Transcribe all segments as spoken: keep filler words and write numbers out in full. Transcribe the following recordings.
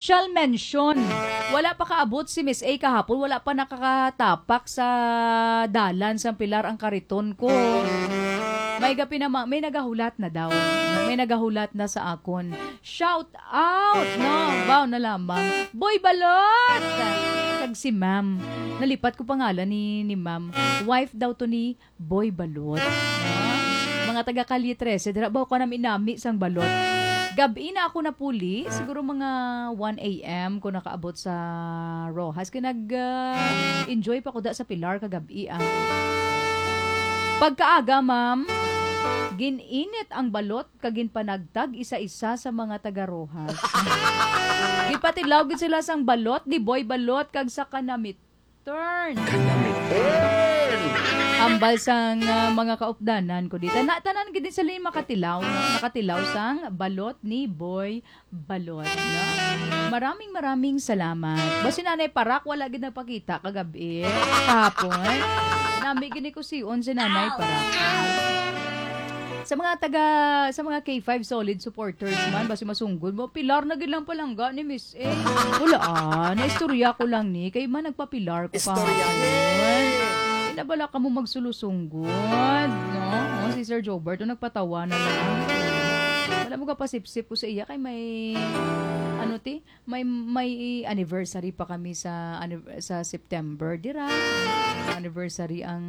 Special mention. Wala pa kaabot si Miss A kahapon, wala pa nakakatapak sa dalan sang Pilar ang kariton ko. May gapi na ma-, may nagahulat na daw. May nagahulat na sa akon. Shout out, no? Wow na lamang. Boy Balot! Kag si Ma'am. Nalipat ko pangalan ni, ni Ma'am. Wife daw to ni Boy Balot. Ah, mga taga Calle trese, dira ba ko nami-nami sang balot? Gabi na ako napuli, siguro mga one a m ko nakaabot sa Roxas. Kay nag, ah, enjoy pa ko da sa Pilar kagabi, ah. Pagkaaga, ma'am, gin-init ang balot kag ginpanagtag isa-isa sa mga taga Roxas. Gipatilaw gid sila sang balot ni Boy Balot kag sa kanamit turn. Kanami turn! Ambal sang, ah, mga kaupdanan ko dito. Na, tanan gid din sila yung makatilaw, no? Nakatilaw sang balot ni Boy Balot, no? Maraming, maraming salamat. Ba si Nanay Parak, wala gid nagpakita kagabi, kahapon. Nami gini ko si on si Nanay Parak. Sa mga taga, sa mga K five solid supporters man, basi masunggod mo, Pilar na gid lang palangga ni Miss A. Wala, ah, naistorya ko lang ni, kay man nagpapilar ko Istorya kahapon. Ni. Kay nabala ka mo magsulusunggot, no? Oh, si Sir Jobert, oh, nagpatawa na lang. Wala mo kapasipsip ko sa iya, kay may, ano ti, may, may anniversary pa kami sa anniv-, sa September, dira. Anniversary ang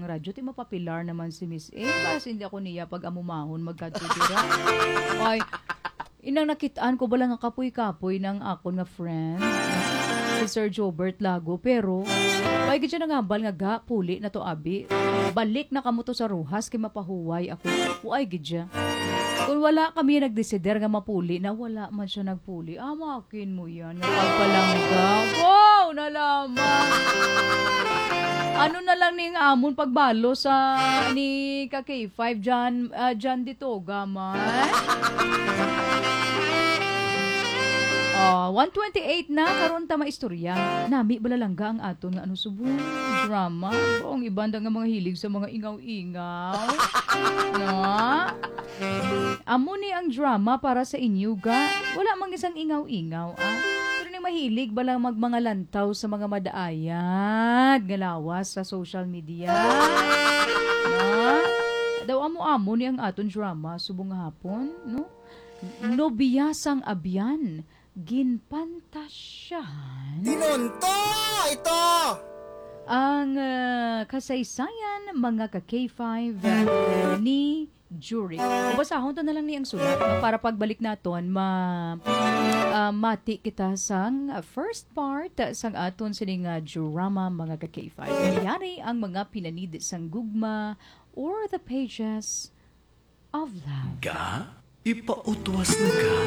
radyo, ti mapapilar naman si Miss A. Basi hindi ako niya pag-amumahon magkadto dira. Ay, inang nakitaan ko bala nga kapoy-kapoy ng akon nga friend, si Sir Jobert Lago, pero ay gid siya nangambal nga ga, puli na to, abi. Balik na kamo to sa Roxas kay mapahuway ako. Uy, gid siya. Kung wala kami nagdesider nga mapuli na, wala man siya nagpuli. Amakin mo yan, nga pagpalangga. Wow, na lamang. Ano na lang ning amon pagbalo sa ni ka K five John, ah, John Ditoga man? Ah, one twenty-eight na, karon ta maistorya. Nami balalangga ang aton nga ano subong drama. Ang iban da nga mga hilig sa mga ingaw-ingaw. No? Amo ni ang drama para sa inyo, ga. Wala mang isang ingaw-ingaw, ah. Pero ni mahilig ba lang mag mga lantaw sa mga madaayat nga lawas sa social media? No? Daw amo-amo ni ang aton drama subong nga hapon, no? Nobya sang abyan, ginpantasyahan. Tinunto ito! Ang, ah, kasaysayan, mga ka K five, ni Juric. Basahon ta na lang ni ang sulat, no? Para pagbalik naton, ma-, ah, mati kita sang first part sang aton sining, ah, drama, mga ka K five. Yari ang mga pinanid sang gugma or the pages of love. Ga, ipautwas na ka.